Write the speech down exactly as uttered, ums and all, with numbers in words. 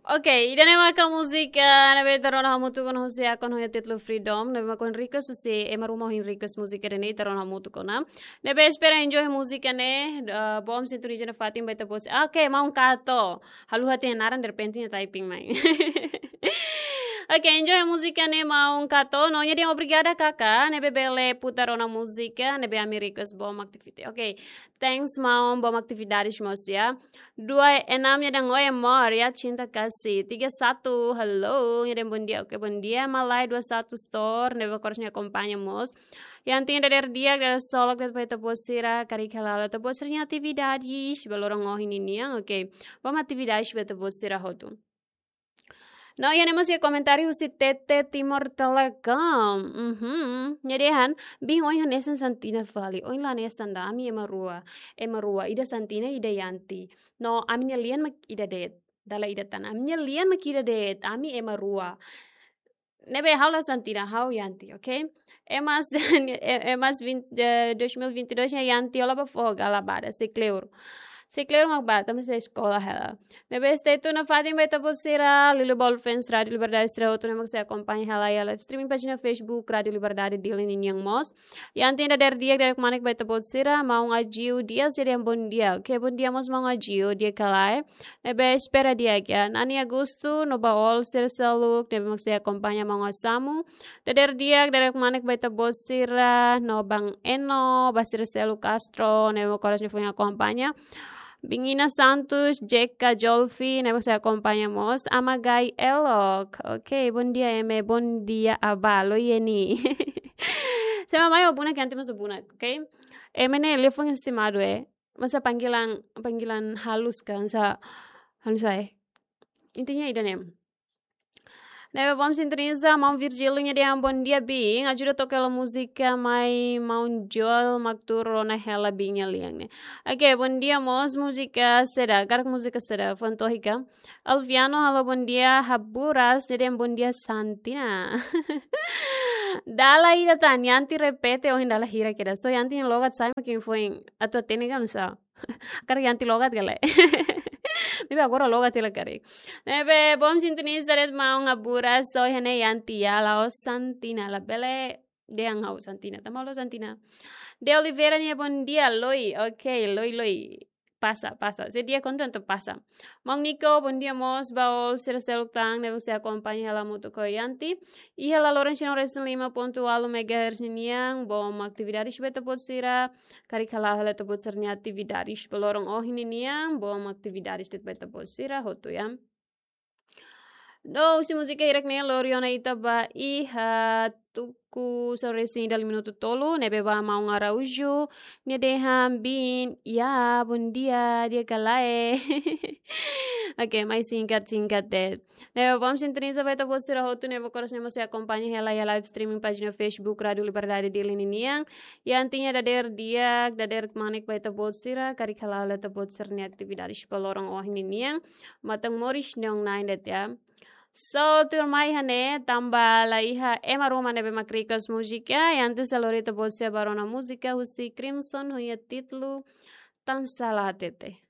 Ok, ida-ne'e maka múzika ne'ebé ita rona hamutuk ona husi akun ho títulu Freedom, ne'ebé mak ohin request husi ema ruma ohin request múzika ida-ne'e, ita rona hamutuk ona. Ne'ebé espera enjoy múzika ne'e, eh, bom sintoniza nafatin ba ita-boot sira. Ok, Maun Kato. Haluha tiha naran, derrepente nia typing mai. Ok, enjoy múzika ne'e Maun Kato. No nia dehan obrigada kaka, ne'ebé bele putar ona múzika ne'ebé ami request, bom atividade. Ok, thanks maun, bom atividade mós ya. Dua enam nia dehan oi amor, ya cinta kasih. Tiga satu, halo, nia dehan bom dia. Ok, bom dia, Malai dua satu Store, ne'ebé mak oras ne'e akompaña mós. Yanti nia dadeer di'ak, dadeer solok de'it ba ita-boot sira, karik hala'o ita-boot sira-nia atividades ba loron ohin ninian, ok. Bom atividades ba ita-boot sira hotu. No iha ne'e mós iha komentáriu husi T T Timor Telecom. Mhm. Nia dehan, biin ohin hanesan Santina fali, ohin la hanesan ida, ami ema rua. Ema rua, ida Santina, ida Yanti. No, ami-nia lian mak ida de'it. Dala ida tan. Ami-nia lian mak ida de'it, ami ema rua. Ne'ebé ha'u la Santina, ha'u Yanti, ok? Emas, e-, emas vinte, eh, dois mil e vinte e dois nia Yanti, hola ba foho galabada, sei kleur. Sei kleur mak bá, tanba sei eskola hela. Ne'ebé stay tune nafatin ba ita-boot sira, Lilo Ball Fans, Rádio Liberdade sira hotu ne'ebé mak sei akompaña hela iha live streaming pájina Facebook, Rádio Liberdade Dili ninian mós. Yanti nia dadeer di'ak, dadeer kmanek ba ita-boot sira, Maun Ajiu Dias, nia dehan bom dia. Ok, bom dia mós Maun Ajiu, di'ak ka lae. Ne'ebé espera di'ak ya. Nani Agusto, no ba all sira seluk, ne'ebé mak sei akompaña Maun Asamu. Dadeer di'ak, dadeer kmanek ba ita-boot sira, no Bang Eno, ba sira seluk Castro, ne'ebé mak oras ne'e foin akompaña. Bingina Santos, Jeka Jolfi, ne'ebé mak sei akompaña mós. Ama Gai Elok. Ok, bom dia, ema, bom dia, Abalo Yeni. Sema mai o buna kianti mas o buna, ok? Ema ne'e liafuan estimadu, eh. Masa panggilan, panggilan halus kan, sa, halus ai. Intinya ida-ne'e. Ne'ebé bom sintoniza, Maun Virgílio nia dehan bom dia, biin. Ajuda toka hela múzika mai Maun Joel mak tuur rona hela biin nia lian ne'e. Ok, bom dia mós, múzika saida, karik múzika saida, fuan tohika. Alviano, halo bom dia, Haburas, nia dehan bom dia, Santina. Dala ida tan, Yanti repete, ohin dala hira kedas. So, Yanti nia logat sai, mak ohin foin atu hatene ka nusá. Karik Yanti logat ka lae. Maibé agora logat hela karik. Ne'ebé, bom sintoniza de'it Maun Haburas, so, iha ne'e Yanti ya, la'ós Santina, labele dehan ha'u Santina, tanba ha'u la'ós Santina. De Oliveira nia bom dia, Loi, ok, Loi, Loi. Pasa, pasa. Sei di'ak kontu entaun pasa. Maun Nico, bom dia mós, ba all sira seluk tan, ne'ebé sei akompaña hela hamutuk ho Yanti. Iha laloran tinan resin lima pontu ualu megahertz ninian, bom atividades ba ita-boot sira, karik hala'o hela ita-boot sira-nia atividades ba loron ohin ninian, bom atividades de'it ba ita-boot sira hotu ya. No, husi múzika hirak ne'e lori ona ita ba iha tuku sanulu-resin-ida minutu tolu, ne'ebé ba Maun Araújo, nia dehan biin, ya, bom dia, di'ak ka lae. Ok, mai singkat-singkat de'it. Ne'ebé bom sintoniza ba ita-boot sira hotu ne'ebé oras ne'e mós sei akompaña hela iha live streaming pájina Facebook Rádio Liberdade Dili ninian. Yanti nia dadeer di'ak, dadeer kmanek ba ita-boot sira, karik hala'o hela ita-boot sira-nia atividades ba loron ohin ninian. Matan moris neon nine de'it ya. So, tuirmai iha ne'e, tanba la iha ema ruma ne'ebé mak request múzika, Yanti sei lori ita-boot sira ba rona múzika husi Crimson ho nia títulu Tansá La Hatete.